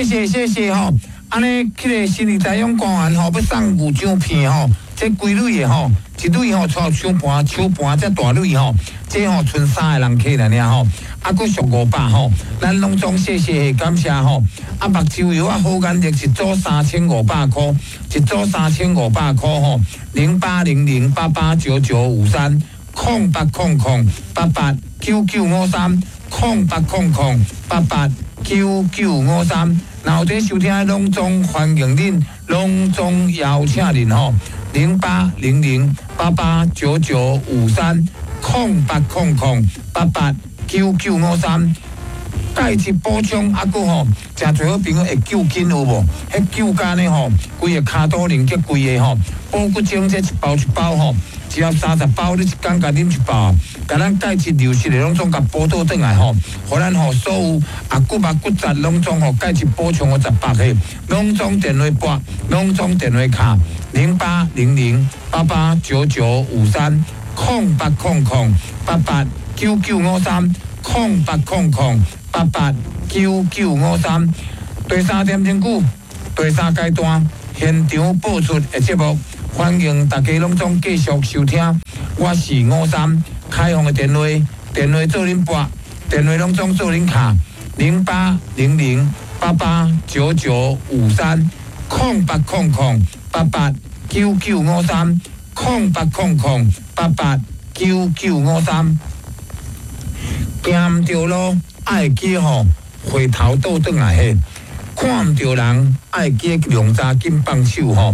謝謝謝謝吼。按呢，彼个新義台勇官員吼，欲送牛獎片吼，這幾蕊的吼，一蕊吼，跙手盤手盤遮大蕊吼，這吼賰三个人客爾爾吼，啊，閣俗500吼，咱攏總謝謝感謝吼。啊，目睭藥啊，好眼力一組3500箍，一組三千五百箍吼，0800889953，0800889953，0800889953。若有佇收聽，攏總歡迎恁，攏總邀請恁吼，0800889953，0800889953。鈣質補充啊，閣吼，誠濟好朋友會救緊有無？彼救肝的吼，規个跤肚靈結規个吼，補骨精這一包一包吼，一盒30包，你一工共啉一包，共咱鈣質流失的攏總共補倒轉來吼，予咱吼所有啊骨肉骨質攏總吼鈣質補充予十八個，攏總電話撥，攏總電話敲0800889953，0800889953，0800889953。第三點鐘久，第三階段現場播出的節目，歡迎大家攏總繼續收聽。我是吳三，開放的電話，電話做恁撥，電話攏總做恁敲，0800889953，0800889953，0800889953。行毋著路，愛記吼，回頭倒轉來彼，看毋著人，愛記量查緊放手吼。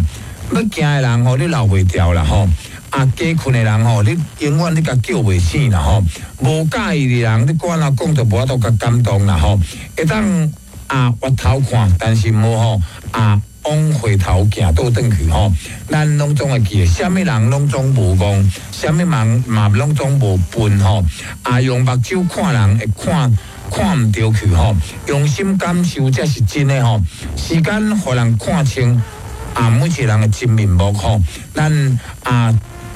欲行的人吼，你留袂牢啦吼。啊，加睏的人吼，你永遠你共叫袂醒啦吼。無佮意的人，你管怎講都無法度共感動啦吼。會當啊，回頭看，但是無吼啊，往回頭行倒轉去吼。咱攏總會記得，啥物人攏總無戇，啥物人嘛攏總無笨吼。啊，用目睭看人會看看毋著去吼，用心感受才是真的吼。時間予人看清啊，每一個人的真面目吼。咱啊，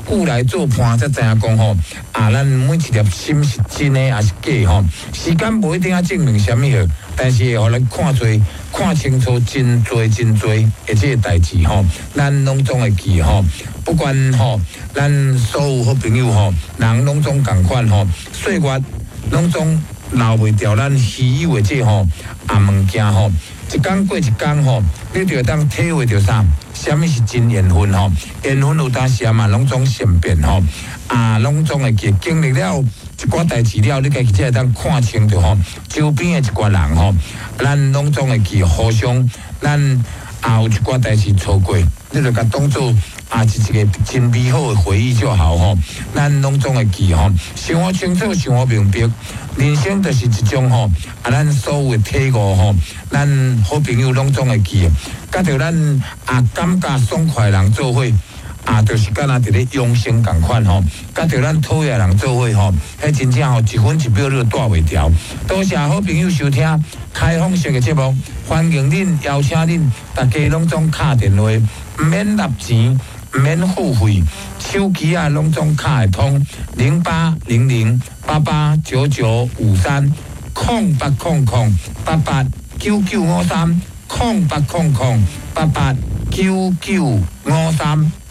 久來做伴才知影講吼，啊，咱每一粒心是真的抑是假吼。時間無一定愛證明啥物好，但是會予咱看濟、看清楚真濟真濟的這個代誌吼。咱攏總會記吼，不管吼，咱所有好朋友吼，人攏總仝款吼，歲月攏總留袂牢咱稀有的這吼啊物件吼。一工過一工吼，你就會當體會著啥？啥物是真緣分吼？緣分有當時嘛，攏總善變吼。啊，攏總會記經歷了一寡代誌了，你家己才會當看清著吼。周邊的一寡人吼，咱攏總會記互相，咱也有一寡代誌錯過，你就共當做啊是一個真美好的回憶就好吼。咱攏總會記吼，想予清楚，想予明白，人生就是一種吼，啊，咱所有的體悟吼，咱好朋友攏總會記，佮著咱啊感覺爽快的人做伙，啊，就是敢若佇咧養生仝款吼，佮著咱討厭人做伙吼，彼真正吼一分一秒你都帶袂牢。多謝好朋友收聽開放式的節目，歡迎恁邀請恁大家攏總敲電話，毋免納錢，毋免付費，手機啊攏總敲會通，0800889953，0800889953，0800889953。